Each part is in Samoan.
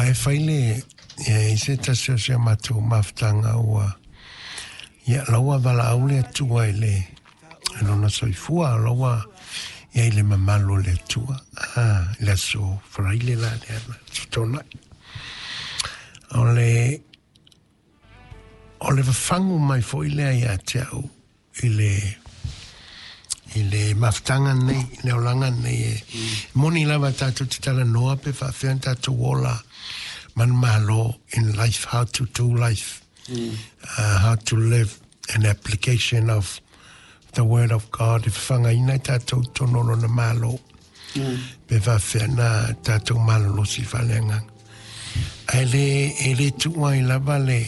la e fai le, e i ai se tasi o si a matou mafutaga ua, ia, la ua valaau le Atua i le, i lona soifua, la ua i ai le mamalu o le Atua, i le aso Faraile la lea na fetonai. O le, o le fafagu mai foi lea ia te au i le i le mafutaga nei, i le olaga nei e moni lava tatou te talanoa pe faafefea ona tatou ola manumalo in life, how to do life, how to live an application of the word of God e fafagaina ai tatou i totonu o lona Malo. Pe faafefea ona tatou malolosi faaleagaga. Ae le, e le tuu ai lava le,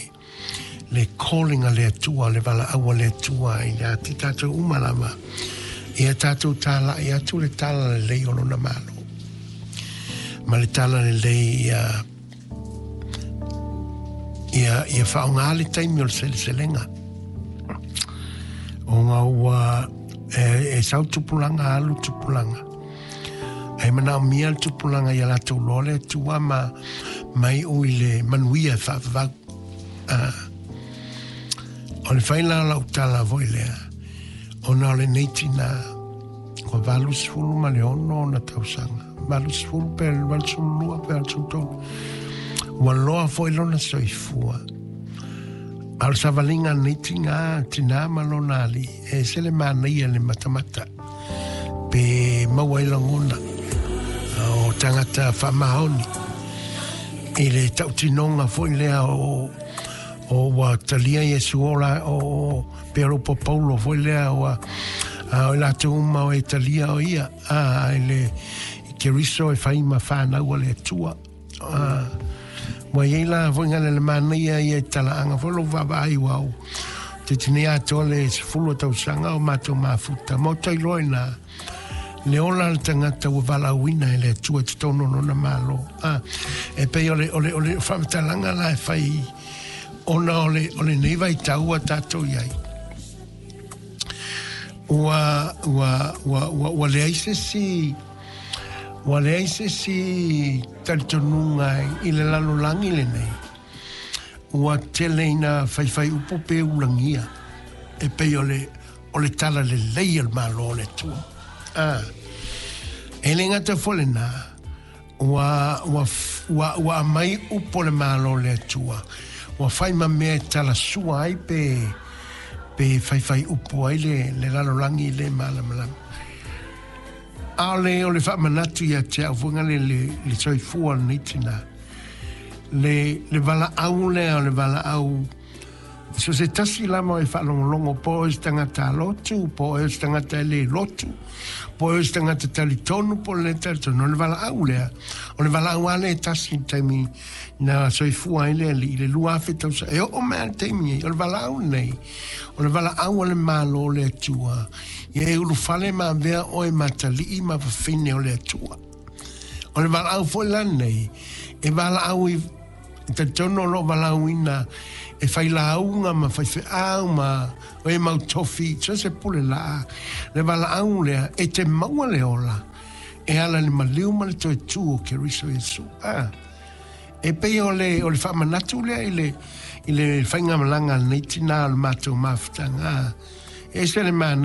le calling a le Atua, le valaau a le Atua ia te tatou uma lava, ia tatou talai atu le tala lelei o Lona Malo. Ma le tala lelei ia, ia, ia faaaoga le taimi o le seleselega. Ona ua e, e sau tupulaga alu tupulaga. E manaomia le tupulaga ia latou loa le Atua ma mai ui le manuia e faavavau. O le fai la o lau tala foi lea, ona o lenei tinā, ua 86 ona tausaga, 80 pe 82 pe 83, ua loa foi lona soifua. A o le savaliga a lenei tinā, tinā ma lona alii, e ese le manaia i le matamata, pe maua ai lagona o tagata faamaoni i le tautinoga foi lea o o ua talia Iesu ola o pe o po Paulo foi lea ua a o i latou uma o e talia o ia a i le Keriso e fai ma whanau a le Atua. A, ua iai la foi ngale le manaia ia i talaaga foi lou vaavaai ua au te tinei atoa le 10 o tausaga o matou mafuta. Ma o tailoa ina le ola le tagata ua valaauina e le Atua i totonu o lona Malo. A, e pei o le, o le, o le faamatalaga la e fai ona o le, o lenei vaitau ua tatou i ai. Ua, ua, ua, ua, ua leai se isi, ua leai se isi talitonuga i le lalolagi lenei. Ua tele ina faifai upu pe ulagia e pei o le, o le tala lelei a le Malo o le Atua. A, e le gata foi lena, ua, ua, ua, ua aumai upu o le Malo o le Atua, ua fai ma mea e talasua ai pe, pe faifai upu ai le, le lalolagi le malamalama. A o le, o le faamanatu ia te au foi le, le, le soifua o lenei tinā. Le, le valaau lea o le valaau So se tasi lava e faalogologo po o oe se tagata lotu, po o oe se tagata e le lotu, po o oe se tagata talitonu, po o le le talitonu. O le valaau lea, o le valaau lava lea e tasi i le taimi na soifua ai le Alii i le 2000 tausaga. E oo mai lava i le taimi nei, o le valaau lenei, o le valaau a le Malo o le Atua, ia e ulufale ma avea oe ma atalii ma fafine o le Atua. O le valaau foi la lenei, e valaau i E talitonu o lo o valaauina e failauga ma faifeau ma e mau tofi, so se pule laa, le valaau lea e te maua le ola e ala i le maliu ma le toe tu o Keriso Iesu. A, e pei o le, o le faamanatu lea i le, i le faigamalaga a lenei tinā o le matou mafutaga. A, e ese le manaia.